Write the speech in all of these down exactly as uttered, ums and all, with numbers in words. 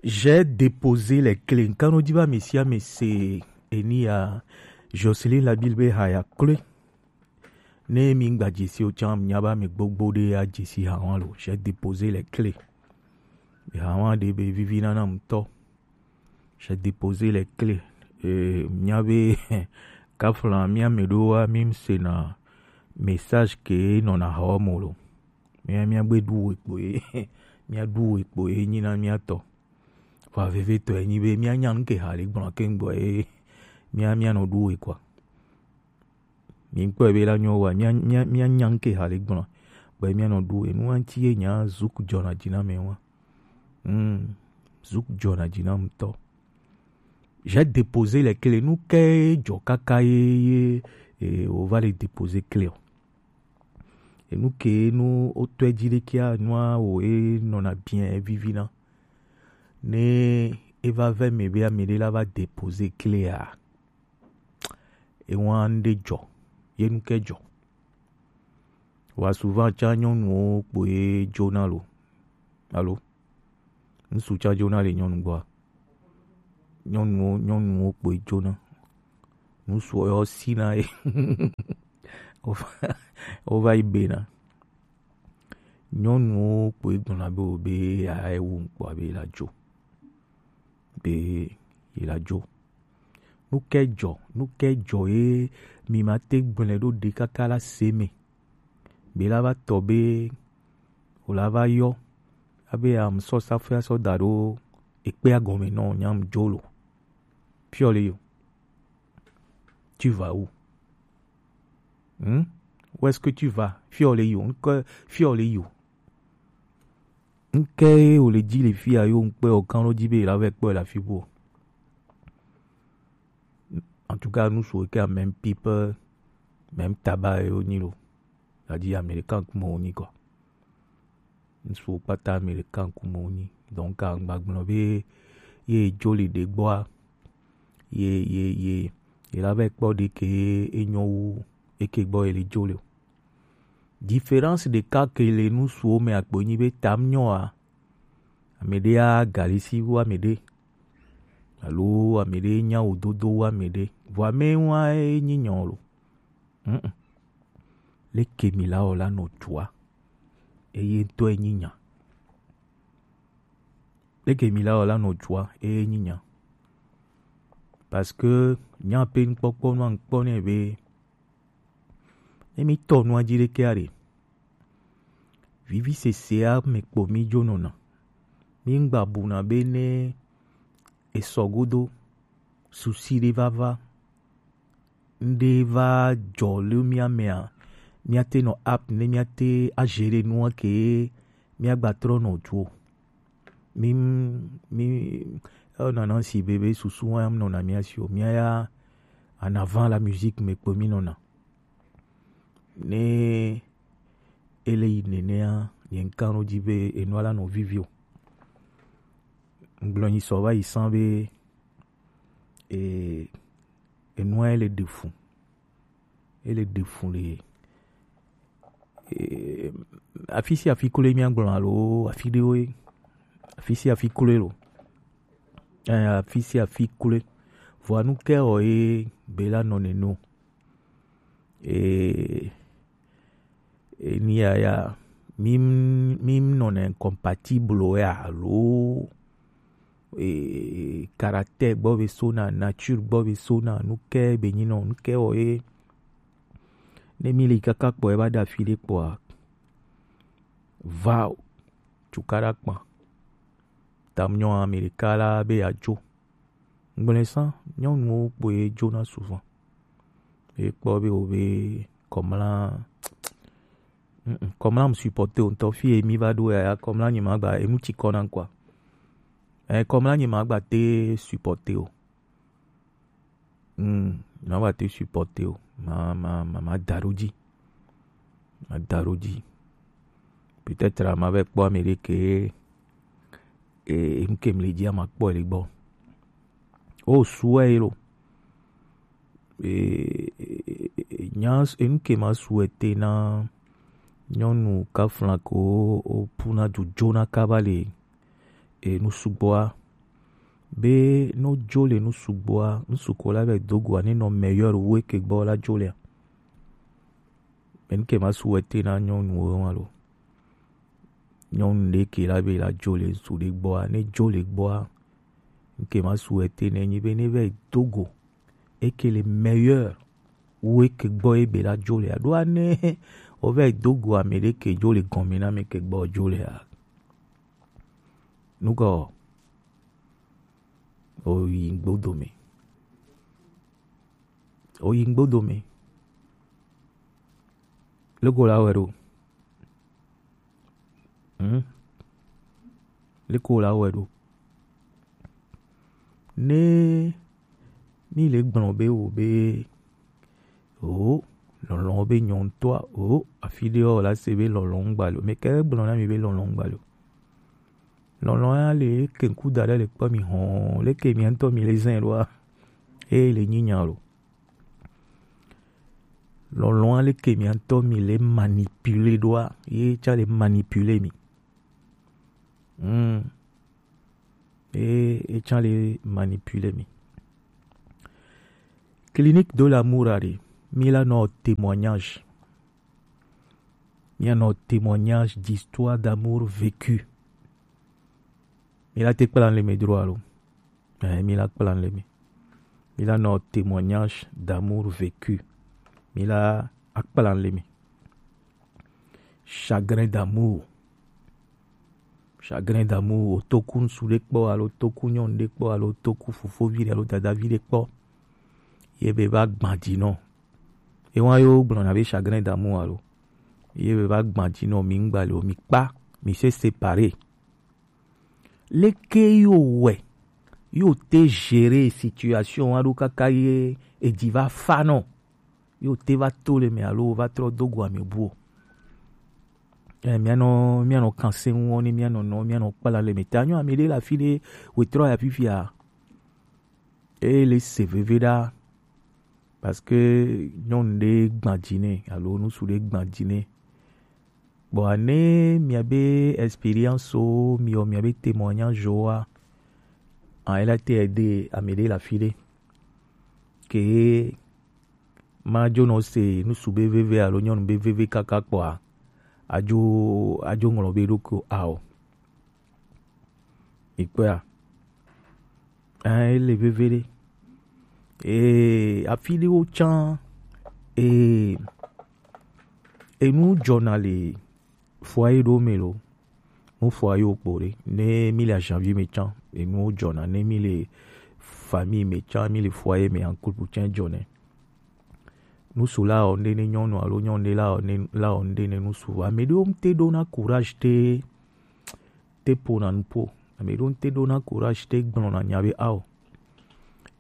J'ai déposé les clés. Nkanɔ dzi va mesi ame se eni ya Jocelyn Labille be haya kloe. Ne mi gba dzesi o tsã nya ba me gbogbo ɖe ya dzesi hawa lo. J'ai déposé les clés. Hawa ɖe be vivi nana ŋutɔ. J'ai déposé les clés. Eh, nya be kafla mi ame ɖo wa mi se na message ke nɔ na hawa mo lo. Mía míagbe ɖu wekpo ye mía ɖu wekpo ye nyi na mía tɔ. Vɔ vevetɔ ye nyi be mía nya nu ke ha le gblɔ ke ŋgbɔ ye mía mía nɔ ɖu we kɔa. Mi kpɔ be la nyɔ wa mía mía mía nya nu ke ha le gblɔ be mía nɔ ɖu we nu anti ye nya zuk jɔna dzi na mɛ wa. Hmm. Zuk jɔna dzi na ŋutɔ. J'ai déposé les clés. Nu ke jɔ kaka ye ye e, o va le déposer clé o. Enu ke nu o tɔe dzi ɖe kia nua o e nɔna bien vivina. Ne e va ve me be ame ɖe la va déposer clé a. E wan ɖe jɔ. Ye nu ke jɔ. Wa souvent tsã nyɔnuwo kpoe dzona lo. Alo? Ŋsu tsã dzona le nyɔnu gbɔa? Nyɔnuwo, nyɔnuwo kpoe dzona. Ŋsuwo yɔ sina ye. Wova, wova yi bena. Nyɔnuwo kpoe gblɔna be wo be ya ewu ŋkpɔa be la dzo. Be yi la dzo. Nu ke dzɔ, nu ke dzɔ ye mi ma te gblɔe ɖo ɖe kaka la se me. Be la va tɔ be o la va yɔ. Abe am sɔ safia sɔ da ɖo ekpea gɔme nɔ nyam dzo lo. Fiɔ le yo. Tu vas où? Hmm? Où est-ce que tu vas? Fiɔ le yo. Nke fiɔ le yo. Nke o le dzi le fia yo ŋkpe o kan lo dzi be la vɛ kpɔ la fi bo. En tout cas, nous souhaitons même people, même tabac et au nilo. C'est-à-dire américain comme on y quoi. Ŋsu kpata américain kume wonyi. Donc aŋgba gblɔ be ye dzo le ɖe gbɔa, ye ye ye ye la va kpɔ ɖe ke enyo wu eke gbɔ ye le dzo le o. Différence ɖeka ke le ŋsuwo me akpo nyi be tam nyɔa, ame ɖe a galisi wu ame ɖe alo ame ɖe nya wo dodo wu ame ɖe, vɔ ame wa enyi nyɔ lo. Mm-mm. Leke mi la wɔ la nɔ dua eye ŋutɔ enyi nya. Leke mi la wɔ la nɔ dua eye enyi nya. Parce que nya pe ŋkpɔkpɔ nua ŋkpɔ nɛ be ne mi tɔ nua dzi ɖekea ɖe, vivi sesea me kpo mi dzo nɔna. Mi ŋgba buna be ne esɔ godo, susi ɖe va va, ŋɖe va dzɔ le mía mea, míate nɔ app ne míate agérer nua ke míagba trɔ nɔ dzo. Mi mi enɔna si be be susu wa nɔna mía si o, mía ya en avant la musique me kpo mi nɔna. Ne ele yi nenea, nye ŋkan ɖo dzi be enua la nɔ vivi o. Ŋgblɔ nyi sɔ va yi san be e enua ele ɖe fu. Ele ɖe fu le e, afi sia afi kloe mía gblɔ alo afi ɖewoe. Afi sia afi kloe lo. Eh, afi sia afi kloe. Vɔa nu ke wɔ ye be la nɔ neno. E, e, ni ya ya, mi, mi nɔ ne incompatible ya alo e, caractère gbɔ be sona, nature gbɔ be sona, nu ke be nyi nɔ, nu ke wɔ ye. Ne mi li kaka kpɔ ye ba da fi ɖe kpɔa, va o, cukaɖa kpa. Tam nyɔ Amerika la be ya dzo. Ŋgblẽ sã, nyɔnuwo kpoe dzona souvent. Ye kpɔ be wo be kɔmla, mm, mm, kɔmla m supporter o ŋutɔ. Fi ye mi va ɖo yaya kɔmla nye ma gba enu tsi kɔ na ŋkɔa. Eh, kɔmla nye ma gba te supporter o. Mm, ma gba te supporter o. Ma, ma, ma, ma da ɖo dzi. Ma da ɖo dzi. Peut-être ma va kpɔ ame ɖe ke e, enu ke mli dzia ma kpɔ le gbɔ. O suɛ lo. E, e, e, nya enu ke ma suɛ te na nyɔnu kafla ko o puna dzodzona kaba le e, nu sugbɔa, be no jo le nu sugbɔa, nu suko la be dogo a ne nɔ meilleur wu eke gbɔ la jo le a. Mɛ nu ke ma su wete na nyɔnu wo ma lo. Nyɔnu ɖe ke la be la jo le ŋsu ɖe gbɔa, ne jo le gbɔa, nu ke ma su wete ne nyi be ne vɛ dogo eke le meilleur wu eke gbɔ ebe la jo le a. Ɖo a ne o vɛ dogo ame ɖe ke jo le gɔme na ame ke gbɔ jo le a. Nukɔ o yi ŋgbo dome. O yi ŋgbo dome. Lego la wɛ ɖo. Hmm? Lego la wɛ ɖo. Ne mi le gblɔ be wo be o lɔlɔn be nyɔntɔa o afi ɖe o la se be lɔlɔn ŋgba lo. Me ke gblɔ na mi be lɔlɔn ŋgba lo. Lɔlɔn ya le ke ŋku da ɖe le kpɔ mi hɔn le ke mi ŋutɔ mi le zɛn ɖoa. E le nyi nya lo. Lɔlɔn ale ke mi ŋutɔ mi le manipuler ɖoa, ye tsa le manipuler mi. Hmm. E, e tsa le manipuler mi. Clinique de l'amour a ɖe, mi la nɔ témoignage. Mi la nɔ témoignage d'histoire d'amour vécu. Mi la te kpla le me dro alo. Eh, mi la kpla le me. Mi la nɔ témoignage d'amour vécu. Mi la akpla le me. Chagrin d'amour. Chagrin d'amour, o toku ŋsu ɖe kpɔ alo toku nyɔnu ɖe kpɔ alo toku fofovi ɖe alo dadavi ɖe kpɔ. Ye be va gbadinɔ. Ewa yo gblɔna be chagrin d'amour alo. Ye be va gbadinɔ mi ŋgba le o mi kpa, mi se séparer. Leke yo wɛ, yo te gérer situation wa ɖo kaka ye edzi va fa nɔ. Yo te va to le me alo va trɔ do go ame bu o. Eh, mianɔ, mianɔ kanse ŋu ni mianɔ nɔ, mianɔ kpala le me. Ta nyɔ ame ɖe le afi ɖe, wetrɔ ya fifia. E le se veve ɖa. Parce que nyɔnu ɖe gbadzi nɛ, alo ŋsu ɖe gbadzi nɛ. Bon, ne miabe expérience o, miɔ miabe témoignage oa, en, elle a été aidée ame ɖe le afi ɖe. Ke ma dzo nɔ se ŋsu be veve alo nyɔnu be veve kaka kpɔa, adzo, adzo ŋlɔ be ɖokui o ao. Ikpɔa. Hein, ele veve ɖe. Ee, afi ɖewo tsã, ee, enu dzɔna le foyer ɖewo me lo. Mu foyer wo kpo ɖe. Ne mi le janvier me tsã, enuwo dzɔna. Ne mi le famille me tsã, mi le foyer me en couple tsã dzɔnɛ. Ŋsu la wɔ ŋɖe ne nyɔnu alo nyɔnu ɖe la wɔ ne, la wɔ ŋɖe ne ŋsu. Ame ɖewo ŋte ɖona courage te, te ƒona nuƒo. Ame ɖewo ŋte ɖona courage te gblɔna nya be ao.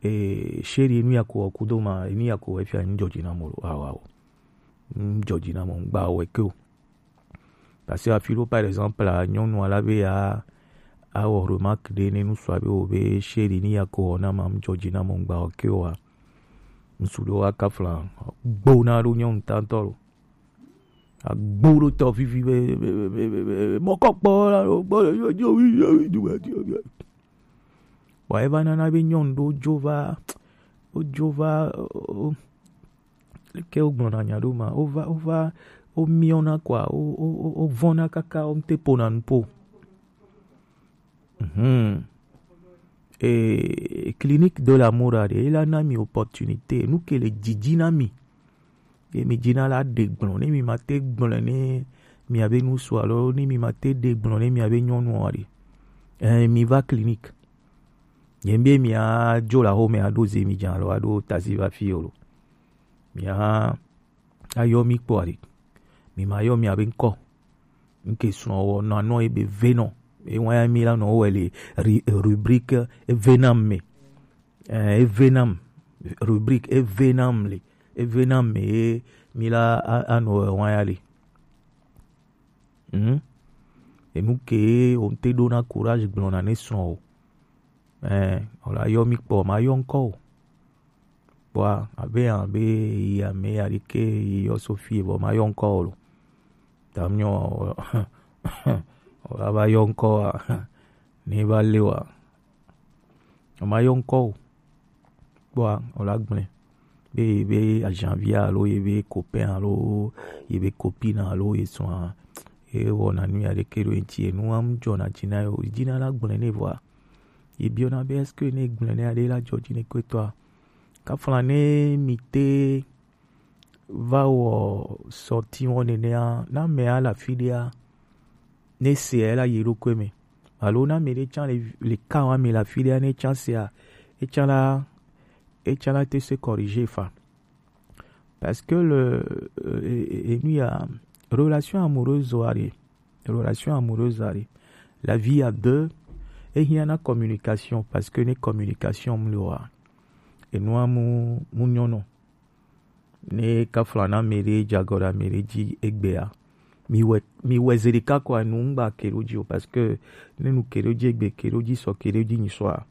Eh, chérie, enu ya ko wɔ kudo ma, enu ya ko wɔ efia ŋdzɔdzi na mo lo. Ao, ao. Ŋdzɔdzi na mo, ŋgba wɔ ke o. Parce que afi ɖewo, par exemple, a, nyɔnua la be ya awɔ remarque ɖe ne ŋsua be wo be chérie ni ya ko wɔ na ma ŋdzɔdzi na mo ŋgba wɔ ke o a. Ŋsu ɖewo aka fla gbona ɖo nyɔnu tantɔ lo. Agbo ɖo tɔ vivi be, be, be, be, be, be mɔkɔ kpɔ la lo gbɔ yo yo yo yo yo yo. Wa eva nana be nyɔnu ɖewo dzo va, wodzo va, o, Leke wogblɔna nya ɖo ma? Wova, wova, womiɔna kɔa, wo, wo, wo, wovɔna kaka, woŋte ƒona nuƒo. Mhm. Eh, Clinique de l'amour a ɖe, ela na mi opportunité, nu ke le dzidzi na mi. Ye mi dzina la ɖe gblɔ, ne mi ma te gblɔ ne miabe ŋsu alo ne mi ma te ɖe gblɔ ne miabe nyɔnua ɖe. Eh, mi va clinique. Ye be mi a dzo la xo me a ɖo ze mi dza alo a ɖo taxi va fi o lo. Mi a, a yɔ mi kpɔ ali. Mi ma yɔ mi abe ŋkɔ. Ŋke srɔ̃ wɔ nɔ anɔ ebe venɔ. Ewa ya mi la nɔ wɔ le ri-, rubrique evenam me. Eh, evenam. Rubrique evenam le. Evenam me ye mi la a, a nɔ wɔ wa ya le. Hmm? Enu ke o ŋte ɖona courage gblɔna ne srɔ̃ o. Eh, o la yɔ mi kpɔ, ma yɔ ŋkɔ o. Kpɔa, abe, abe, yi ame ya ɖi ke yi yɔ Sophie, vɔ ma yɔ ŋkɔ o lo. Ta mi nyɔ, o la va yɔ ŋkɔ a, Ne va le wa, o ma yɔ ŋkɔ o. Kpɔa, o la gblẽ be ye be ajanvi alo ye be copain alo ye be copine alo ye sɔa, ye wɔna nu ya ɖeke ɖo eŋuti, enu wa mu dzɔna dzi na ye o. Dzi na la gblẽ nɛ vɔa, ye biɔna be est-ce que ne gblẽ nɛ aɖe la dzɔ dzi ne kpetɔa? Kafla ne mi te va wɔ sɔti wɔ nenea, na mea le afi ɖea, ne sea la yi eɖokui me. Alo na mi ɖe tsã le, le ka wa mi le afi ɖea, ne tsã sea, etsã la, etsã la te se corriger fa. Parce que le, euh, et, et, et nous, il y a relation amoureuse, wa ɖe, relation amoureuse, wa ɖe. La vie à deux, et il y a une communication, parce que une communication, mu le wa. Et nous, mu, mu nyono. Ne kafla na mi ɖe, dze agɔ ɖe mi ɖe dzi egbea, mi wɛ, mi wɛ ze ɖeka kɔ anu ŋgba ke ɖo dzi o, parce que ne nu ke ɖo dzi egbe, ke ɖo dzi sɔ, ke ɖo dzi nyi sɔa,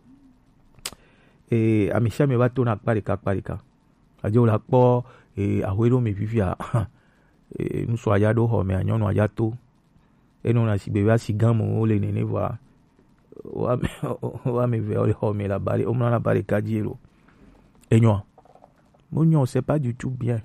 e, ami sia mi va to na akpa ɖeka, akpa ɖeka. Adzo la kpɔ, e, ahwe ɖo mi fifia, e, ŋutsua ya ɖo xɔ me, nyɔnua ya to. Enɔna sigbe be asi gã mo wo le nene vɔa, wo ame, wo ame eve wo le xɔ me le aba ɖe, wo mlɔ le aba ɖeka dzi lo. Enyoa? Mo nyɔ, c'est pas du tout bien.